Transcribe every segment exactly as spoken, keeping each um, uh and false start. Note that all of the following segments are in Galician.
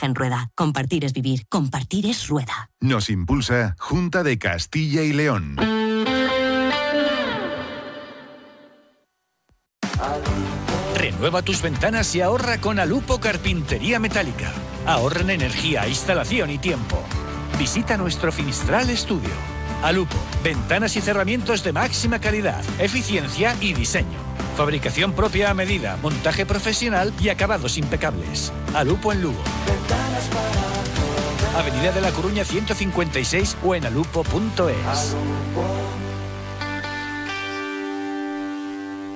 En Rueda. Compartir es vivir. Compartir es Rueda. Nos impulsa Junta de Castilla y León. Renueva tus ventanas y ahorra con Alupo Carpintería Metálica. Ahorra en energía, instalación y tiempo. Visita nuestro Finistral Estudio. Alupo, ventanas y cerramientos de máxima calidad, eficiencia y diseño. Fabricación propia a medida, montaje profesional y acabados impecables. Alupo en Lugo. Avenida de la Coruña ciento cincuenta y seis o en alupo punto es.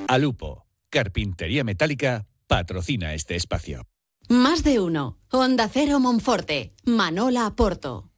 Alupo, Carpintería Metálica, patrocina este espacio. Más de uno. Onda Cero Monforte. Manola Porto.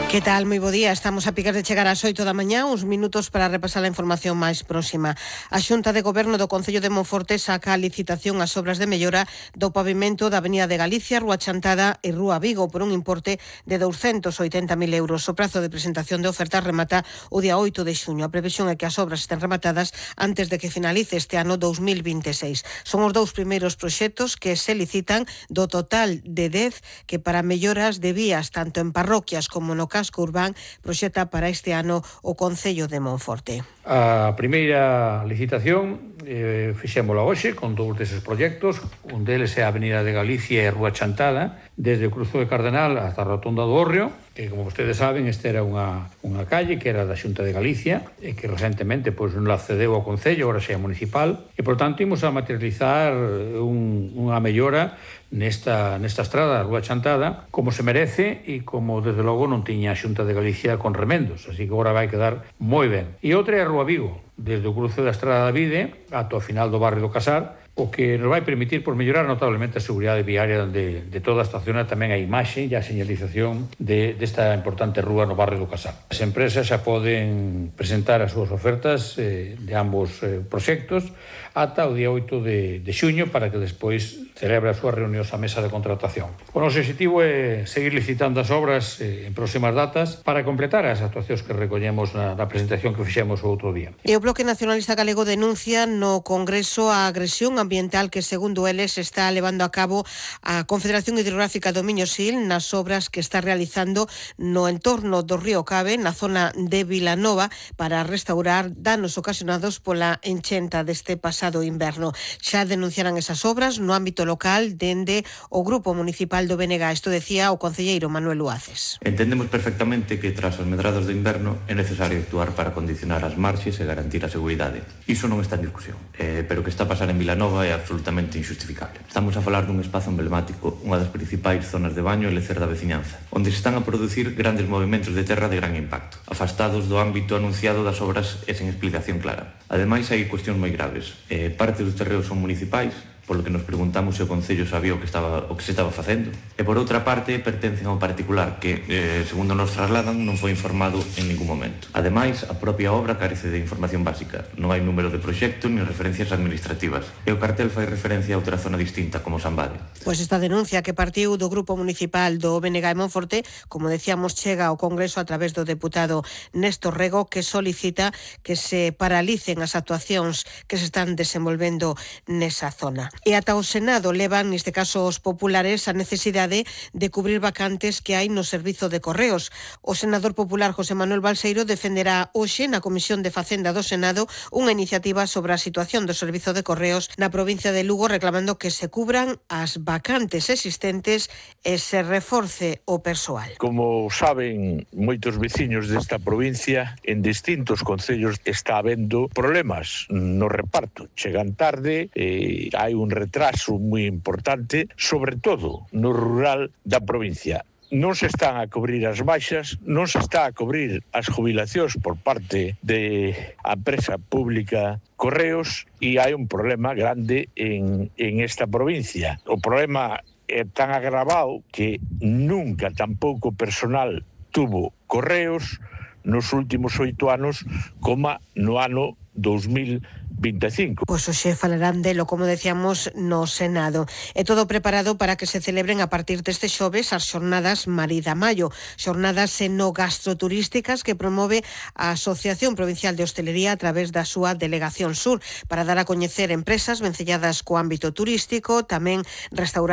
Que tal? Moi bo día. Estamos a picar de chegar ás oito da mañá, uns minutos para repasar a información máis próxima. A Xunta de Goberno do Concello de Monforte saca a licitación as obras de mellora do pavimento da Avenida de Galicia, Rúa Chantada e Rúa Vigo por un importe de douscentos oitenta mil euros. O prazo de presentación de ofertas remata o día oito de xuño. A previsión é que as obras estén rematadas antes de que finalice este ano dous mil vinte e seis. Son os dous primeiros proxectos que se licitan do total de dez que para melloras de vías tanto en parroquias como no casco urbán proxecta para este ano o Concello de Monforte. A primeira licitación eh, fixémola hoxe con dous deses proxectos. Un deles é a Avenida de Galicia e Rúa Chantada, desde o Cruzo de Cardenal hasta a Rotonda do Hórreo, que, como vostedes saben, esta era unha, unha calle que era da Xunta de Galicia e que recentemente pois, non la cedeu ao Concello, agora xa é municipal, e, por tanto, imos a materializar un, unha mellora nesta, nesta estrada, a Rúa Chantada, como se merece e como, desde logo, non tiña a Xunta de Galicia con remendos, así que agora vai quedar moi ben. E outra é a Rúa Vigo, desde o cruce da Estrada da Vide ata o final do barrio do Casar, o que nos vai permitir por mellorar notablemente a seguridade viaria de, de toda esta zona, tamén a imaxe e a señalización de, desta importante rúa no barrio do Casar. As empresas xa poden presentar as súas ofertas eh, de ambos eh, proxectos ata o día oito de, de xuño para que despois celebre as súas reunións a mesa de contratación. O noso objetivo é seguir licitando as obras eh, en próximas datas para completar as actuacións que recollemos na, na presentación que fixemos o outro día. E o Bloque Nacionalista Galego denuncia no Congreso a agresión ambiental que, segundo eles, está levando a cabo a Confederación Hidrográfica do Miño-Sil nas obras que está realizando no entorno do río Cabe, na zona de Vilanova, para restaurar danos ocasionados pola enchenta deste pasado inverno. Xa denunciaran esas obras no ámbito local dende o Grupo Municipal do B N G. Isto decía o concelleiro Manuel Luaces. Entendemos perfectamente que tras as medrados do inverno é necesario actuar para condicionar as marxes e garantir a seguridade. Iso non está en discusión, eh, pero o que está a pasar en Vilanova é absolutamente injustificable. Estamos a falar dun espazo emblemático, unha das principais zonas de baño e lecer da veciñanza, onde se están a producir grandes movimentos de terra de gran impacto, afastados do ámbito anunciado das obras e sen explicación clara. Ademais, hai cuestións moi graves. Eh, parte dos terreos son municipais, polo que nos preguntamos se o Concello sabía o que estaba o que se estaba facendo. E por outra parte, pertencen ao particular que, eh, segundo nos trasladan, non foi informado en ningún momento. Ademais, a propia obra carece de información básica. Non hai número de proxecto nin referencias administrativas. E o cartel fai referencia a outra zona distinta, como Sambade. Pois esta denuncia que partiu do Grupo Municipal do B N G de Monforte, como decíamos, chega ao Congreso a través do deputado Néstor Rego, que solicita que se paralicen as actuacións que se están desenvolvendo nesa zona. E ata o Senado levan, neste caso os populares, a necesidade de cubrir vacantes que hai no servizo de correos. O senador popular José Manuel Balseiro defenderá hoxe na Comisión de Facenda do Senado unha iniciativa sobre a situación do servizo de correos na provincia de Lugo, reclamando que se cubran as vacantes existentes e se reforce o persoal. Como saben moitos veciños desta provincia, en distintos concellos está habendo problemas no reparto. Chegan tarde, e hai un retraso moi importante, sobre todo no rural da provincia. Non se están a cubrir as baixas, non se está a cubrir as jubilacións por parte de a empresa pública Correos e hai un problema grande en, en esta provincia. O problema é tan agravado que nunca tampouco personal tuvo Correos nos últimos oito anos como no ano dous mil vinte e cinco. Pois hoxe falarán delo, como decíamos, no Senado. É todo preparado para que se celebren a partir deste xoves as xornadas Marida Maio, xornadas enogastroturísticas que promove a Asociación Provincial de Hostelería a través da súa Delegación Sur, para dar a coñecer empresas vencelladas co ámbito turístico, tamén restaurantes